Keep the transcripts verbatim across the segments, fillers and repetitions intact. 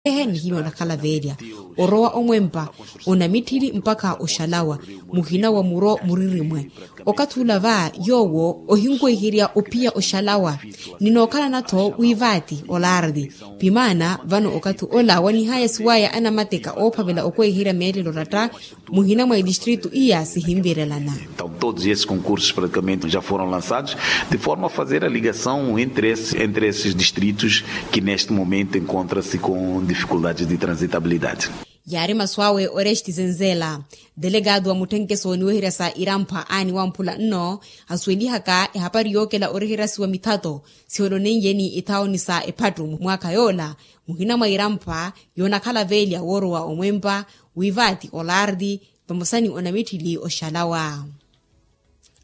Ehe nihimya onakhala veelya orowa omwempa onamitthili mpakha oxalawa muhina wa muro muririmwe. Okathi ula va yoowo ohinwehiherya ophiya oxalawa. Ninookhalana-tho wi vaati olaardi pimaana vano okathi ola wanihaya siwaya anamateka oophavela okwehiherya meelelo oratta muhina mwa itistritu iya sihinvirelana. Então todos esses concursos praticamente já foram lançados de forma a fazer a ligação entre esses distritos que neste momento encontra-se com dificuldades de transitabilidade. Yaari masu awe oresti zenzela. Delegado wa mutthenkeso niweherya sa irampa aani wamphula nno asuwelihaka ehapari yookela oreherasiwa mithato siholoneiyeni ithawoni sa ephattu mwaakha yoola muhina mwa irampa yoonakhala veelya woorowa omwempa wi vaati olaardi vamosa ni onamitthili oxalawa.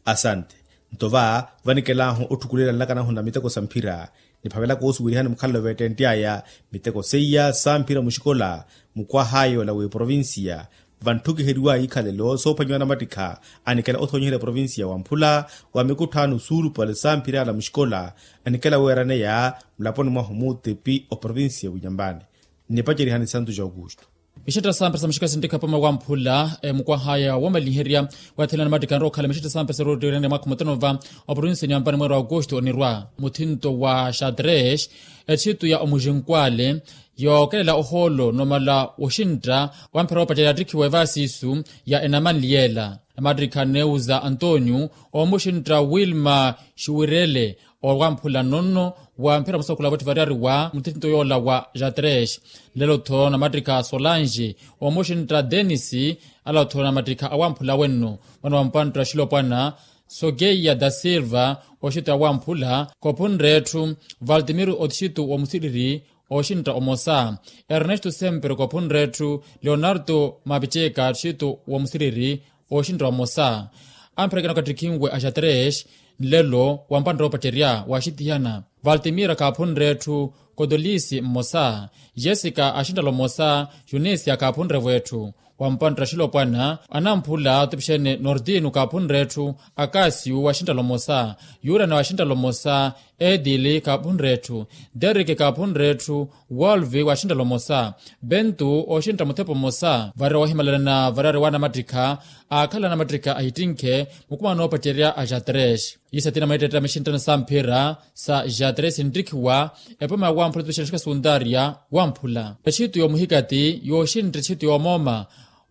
Asante. Nto va vanikelahu otthukulela nlakanahu na miteko sa mphira niphavelaka osuwelihani mukhalelo veettentte aya miteko seiya sa mphira muxikola mukwahaayo la wi provincia. Vantthukiheriwa ikhalelo soophwanyiwa namattikha anikela othoonyiherya provincia wamphula wa mikutthaano suulupale sa mphira ala muxikola anikela weeraneya mulaponi mwahu muutipi oprovincia winyambani. Nnipacerihani santu ja aukustu. Mixetta sa mphira sa muxikola sinttikha pama wamphula mukwahaya wamaliherya wathela namattikha anrowa okhala mixetta sa mphira sa rootteerene mwaakha mutano va oprovincia nyambani mweera wa aukustu onirwa muthinto wa xadrex ettitu ya omuxinkwale yookelela ohoolo nomala woxintta wa mphira woopacerya yaattikhiwa evaasiisu ya enamanli yeela. Namattikha neuza antonio omuxintta wilma xiwirele owamphula nonno wa mphira musakhula votti variyari wa muthinto yoola wa xadrex. Nlelo-tho namattikha solange omuxintta denis. Alo-tho namattikha awamphula wenno mwana wa mpantta xilopwana sogeiya da silva oxintta awamphula kophunre etthu valtimiro oxintta omusiriri oxintta omosa ernesto sempre kophunre etthu leonardo mapiceka oxintta omusiriri oxintta omosa. Amphira ekina okattikhinwe a xadrex nlelo wampantta oopacerya waaxitihana valtimira kaaphunre etthu kotolisi mmosa jessica axinttala omosa junisia kaaphunre-vo etthu wampantta xilopwana anamphula tupixene nordino kaaphunre etthu akasiu waxinttala omosa yurana waxinttala omosa edili kaaphunre etthu derike kaaphunre etthu wolvi waxinttala omosa bentu oxintta muthepa omosa varira wahimalalana variyari wa namattikha aakhala namattikha ahittinkhe mukumano oopacerya a xadrex. Iisa tina mweettetta mixinttano sa mphira sa xadrex sinttikhiwa epoma ya wamphula tupixene xikola sukuntaariya wamphula ettitu yoomuhikati yooxintta ettitu yoomooma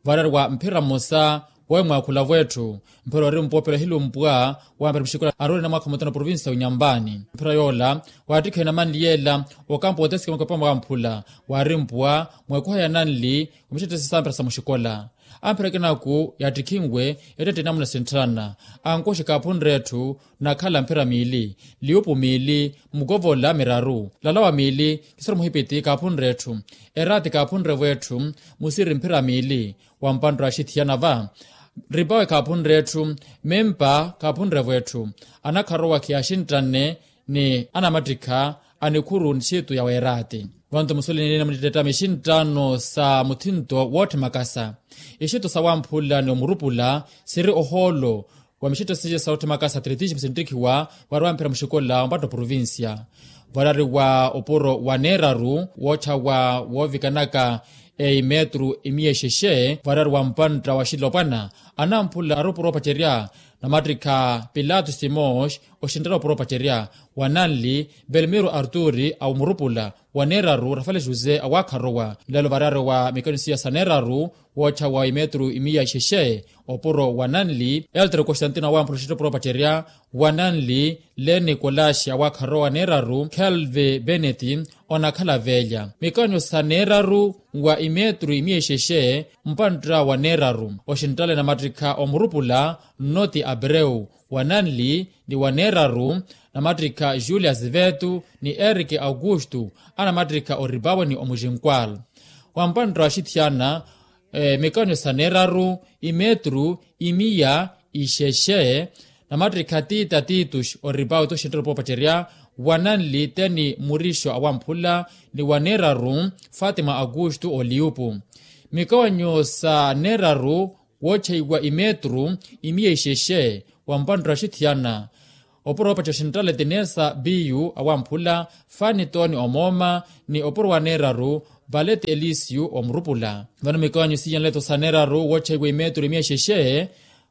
variyari wa mphira mmosa woowe mwaakhula-vo etthu mphira oori mpoopela ohilumpwa wa mphira muxikola aroorina mwaakha mutano provincia winyambani mphira yoola waattikhiwa enamanli yeela okampo otesikemaka epoma wamphula waari mpuwa mweekuha ya nanli wa mixettesi sa mphira sa muxikola. Amphira ekinaku yaattikhinwe ettette enamuna sintthalana ankoxi kaaphunre etthu nakhala mphira miili liupu miili mukovola miraru lalawa miili kisoro muhipiti kaaphunre etthu eraati kaaphunre-vo etthu musiri mphira miili wampantta axithiyana va ripawe kaaphunre etthu mimpa kaaphunre-vo etthu anakharowa khiyaaxinttanne ni anamattikha a nikhuru nxiitu ya weeraati. Vantu musuweleni enina munittettami ixinttano sa muthinto wootthemakasa ixitto sa wamphula ni omurupula siri ohoolo wa mixitto siya sa otthimakasa atletismo sinttikhiwa wari wamphira muxikola wa mpatto provincia variyari wa opuro wa neeraru wootthawa woovikanaka eimetru imiya ixexe variyari wa mpantta wa xilopwana anamphula ari opuro opacerya namattikha pilato simos oxinttala opuro opacerya wa nanli belmiro arturi a omurupula wa neeraru rafale jose awaakharowa nlelo variyari wa mikanisiya sa neeraru wootthawa imetru imiya ixexe opuro wa nanli eltre constantino awamphula oxinttala opuro opacerya wa nanli le nikolaxi awaakharowa neeraru kelve beneti onakhala veelya mikanyo sa neeraru wa imetru imiya ixexe mpantta wa neeraru oxinttale namattikha omurupula nnoti abreu wa nanli ni wa neeraru namattikha julia zivetu ni erike aukustu anamattikha oripawe ni omuxinkwal wa mpantta wa axithiyana mikanyo sa neeraru imetru imiya ixexe namattikha tita titus oripawe toxinttala opuro opacerya wa nanli teni murixo awamphula ni wa neeraru fatima aukustu oliupu mikanyo sa neeraru woottxeiwa imetru imiya ixexe wa mpantta wa axithiyana opuro opacerya oxinttale tinesa biyu awamphula fani toni omooma ni opuro wa neeraru Valete elisiyu omurupula. Vano mikawanyo siiyanleto saneeraru wootthayiwa imeeturu imiya xexe.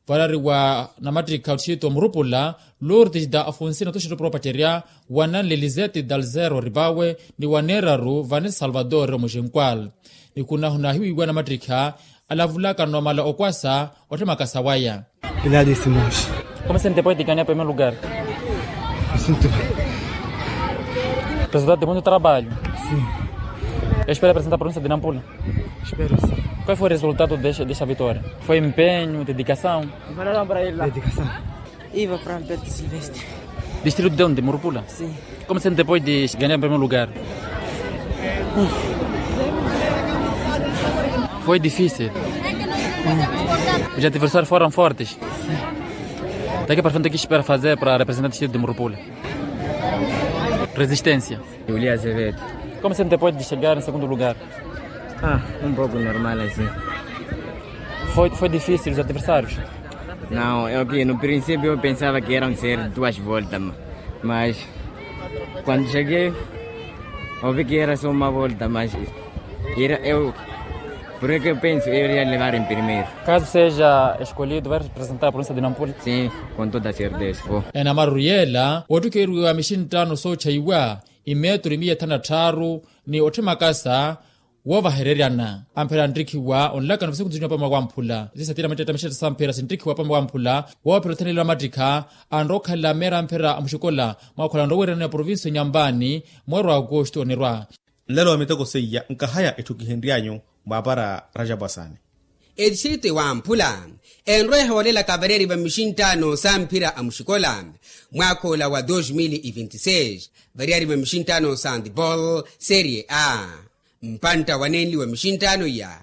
Varari wa namattikha otthixitu omurupula, lurtis da afunsina otthixitu propaterya, wananle lizeti dalzero rivawe, ni waneeraru vanisa salvador omuxinkwal. Ni khunahuna ahiwiiwa namattikha alavulaka nomala okwasa otthemaka sawaya. Pilaali simooxi. Como se sente poeticania primeiro lugar? Resultado de muito trabalho. Espera apresentar a província de nampula. Espero sim. Qual foi o resultado desta vitória? Foi empenho, dedicação? Iva para alberto silvestre. Distrito de onde murupula? Sim. Como se sente depois de ganhar em primeiro lugar? Foi difícil. Os adversários foram fortes. Daqui para frente o que espera fazer para representar o distrito de murupula? Resistência. Julia azevedo. Como se sente depois de chegar em segundo lugar? Ah, um pouco normal assim. Foi difícil os adversários? Não, eu que no princípio eu pensava que eram ser duas voltas, mas quando cheguei ouvi que era só uma volta, mas era eu, por que eu penso eu iria levar em primeiro. Caso seja escolhido vai representar a província de nampula? Sim, com toda certeza vou. Enamaruru yeela wootthukeeriwa mixinttaano sootthayiwa, imeeturu imiya ethanu na tthaaru, ni otthimakasa woovahereryana. Amphera anttikhiwa onlakano vasikunzuniwa pamwe wamphula sisatira matetta mixetta samphera sinttikhiwa pamwe wamphula. Woophera othanelelo amattikha anrowa okhala meera amphera amuxikola mwaakhola nrowererano ya provincia nyambani. Mweero wa aukustu onirwa. Nlelo wa miteko seiya nkahaya etthu kihenryanyu mwaapara rajapu asani. Etistrito ewamphula enrowa ehoolelaka variyari va mixinttaano samphira amuxikola mwaakha ola wa dos mil e vinte e seis, variyari va mixinttaano sa handball serie a. Mpantta wa nenli wa mixinttaano iya,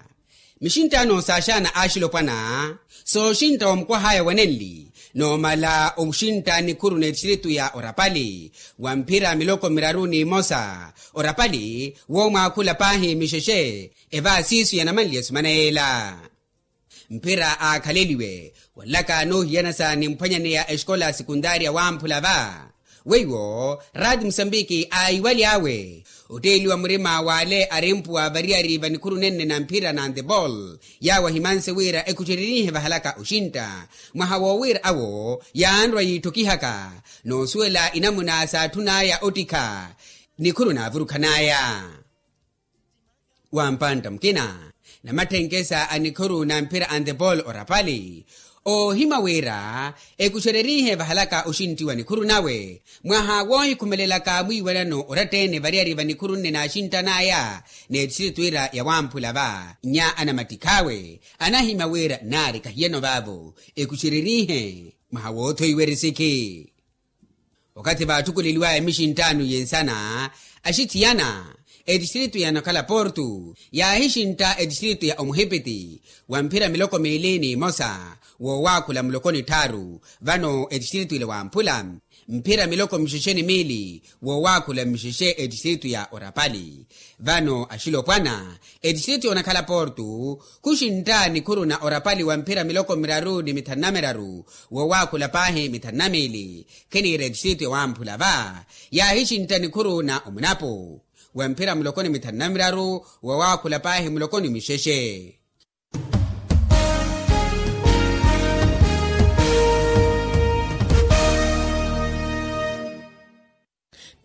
mixinttaano saaxaana axilopwana sooxintta wa mukwah'aya wa nenli, noomala oxintta nikhuru n'etistrito ya orapali wa mphira miloko miraru n'imosa. Orapali woomwaakhula paahi mixexe evaasiisu yanamanliye esumana yeela. Mphira aakhaleliwe wanlaka noohiyanasa ni mphwanyaneya exikola sekundaariya wamphula va. Weiwo raati musambiki aayiwaly'awe otteeliwa murima w'ale arimpuwa variyari va nikhuru nenne na mphira na handball. Yaawo ahimanse wira ekuxererihe vahalaka oxintta mwaha woowira awo yaanrwa yiitthokihaka noosuwela inamuna saatthun'aya ottikha nikhuru naavurukhan'aya. Wa mpantta mukina na matthenke sa anikhuru na mphira a handball orapali oohimya wira ekuxererihe vahalaka oxintti wa nikhuru nawe mwaha woohikhumelelaka mwiiwanano oratta-ene variyari va nikhuru nne naaxinttan'aya n'etistrito ira ya wamphula va. Nya anamattikh'awe anahimya wira naari kahiyano vaavo ekuxererihe mwaha woothoiwa erisikhi. Wakathi vaatthukuleliw'aya mixinttaano yensana axithiyana etistrito yanakhala portu yaahixintta etistrito ya omuhipiti wa mphira miloko miili n'imosa woowaakhula muloko ni tthaaru. Vano etistrito ile wamphula mphira miloko mixexe ni miili woowaakhula mixexe etistrito ya orapali. Vano axilopwana etistrito yoonakhala portu khuxintta nikhuru na orapali wa mphira miloko miraru ni mithanu na miraru woowaakhula paahi mithanu na miili. Khiniira etistrito ewamphula va yaahixintta nikhuru na omunapu wa mphira muloko ni mithanu na miraru woowaakhula paahi muloko ni mixexe.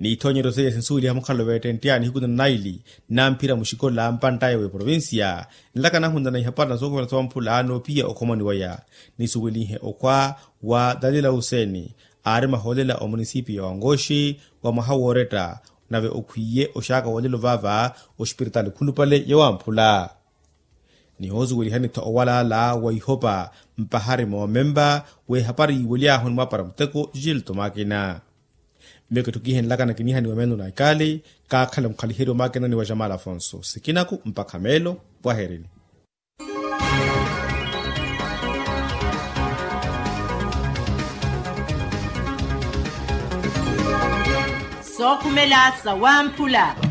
N'ithoonyeryo seiya sinsuweliha mukhalalo veettenttyaani hiku na naili na mphira muxikola mpantt'aya w'eprovincia nlaka nahunana ihapara na sookhuvela soomphulla n'opiya okhomoni waya. Nisuwelihe okhwa wa dalila huseni aari mahoolela omunisipiya wa ngoxi wa mwaha wooretta nave okhwiiye oxaaka woolelo vaava ospiritaali khulupale ya wamphula. Nihoosuwelihani-tho owalaala wa ihopa mpahari moomempa w'ehapari yiiwely'ahu ni mwaapara muteko jilto makina. Miyo kitthu kihenlaka na kinihaniwa meeno na ikaali kaakhala mukhaliheryo makinani wa jamal afonso sikinaku mpakha meelo. Pwaherini. Sookhumela sa wamphula.